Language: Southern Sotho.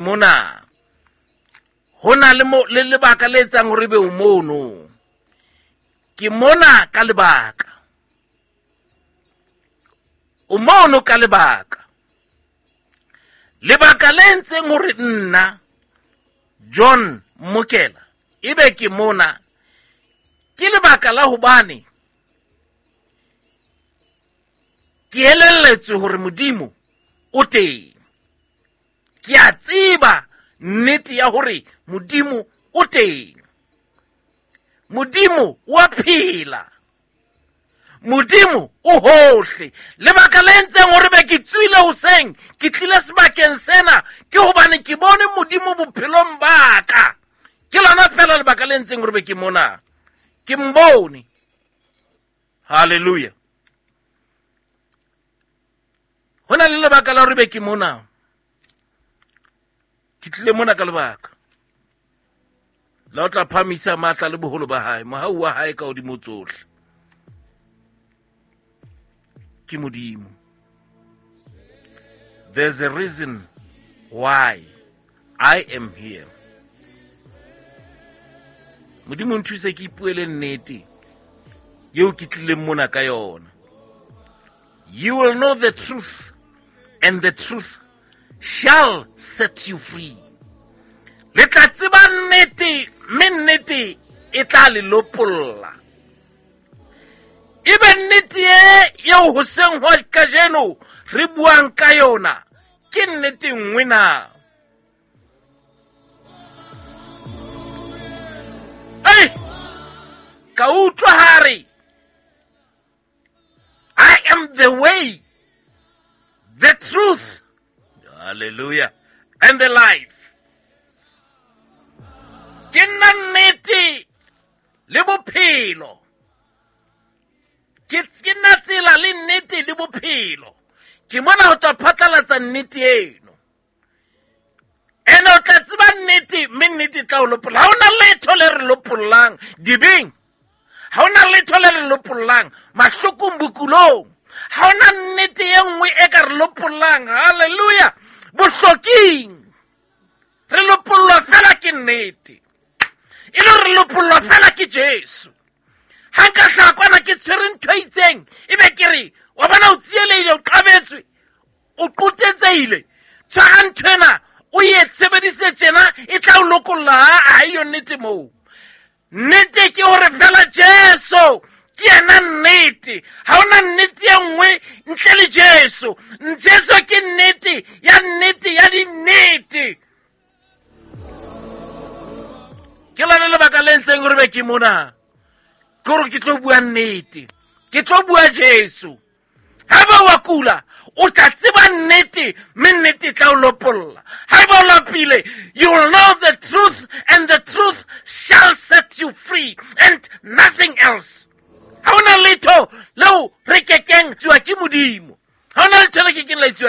Mona ho na le mo le lebaka le etsang hore ebe o mono. Ke mona ka lebaka. O mono ka lebaka. Lebaka le entseng hore nna John Mokela ebe ke mona ke lebaka la hobane ke elelletswe hore Modimo o teng. Ke a tseba nnete ya hore Modimo o teng. Modimo o a phela. Modimo o hohle. Lebaka le entseng hore be ke tswile hoseng, ke tlile sebakeng sena, ke hobane ke bone Modimo bophelong ba ka. Ke lona fela lebaka le entseng hore be ke mona. Ke mbone. Hallelujah. Ho na le lebaka la hore be ke mona. Ke tlile mona ka lebaka la o tla phamisa matla le boholo ba hae, mohau wa hae ka hodimo tsohle. Ke Modimo. There's a reason why I am here. Modimo nthuse ke ipuele nnete eo ke tlileng mona ka yona. You will know the truth, and the truth shall set you free. Le tla tseba nnete, mme nnete e tla le lopolla. Ebe nnete e eo hoseng hwa kajeno re buang ka yona ke nnete nngwe na? Ei, ka utlwa hare, I am the way, the truth, hallelujah, and the life. Ke nna nnete le bophelo. Ke nna tsela le nnete le bophelo. Ke mona ho tla phatlalatsa nnete eno. Ene o tla tseba nnete, mme nnete e tla o lopolla. Ha hona letho le re lopollang dibeng. Ha hona letho le re lopollang mahlokong, bokulong. Ha hona nnete e nngwe e ka re lopollang, hallelujah, bohloking. Re lopollwa fela ke nnete. E le re lopollwa fela ke Jesu. Ha nka hlaha kwana ke tshwere ntho e itseng, ebe ke re, wa bona o tsielehile, o qabetswe, o qotetsehile, tshwara ntho ena, o e sebedise tjena, e tla o lokolla. Ha eyo nnete moo. Nnete ke hore fela Jesu ke yena nnete. Ha hona nnete e nngwe ntle le Jesu. Jesu ke nnete ya nnete ya dinnete. Ke lona lebaka le ntseng hore be ke mona. Ke hore ke tlo bua nnete. Ke tlo bua Jesu. Haeba wa kula, o tla tseba nnete, mme nnete e tla o lopolla. Haeba o lapile, you will know the truth, and the truth shall set you free, and nothing else. Ha hona letho leo re kekeng tsuwa ke Modimo. Ha hona letho le kekeng la etsuwa.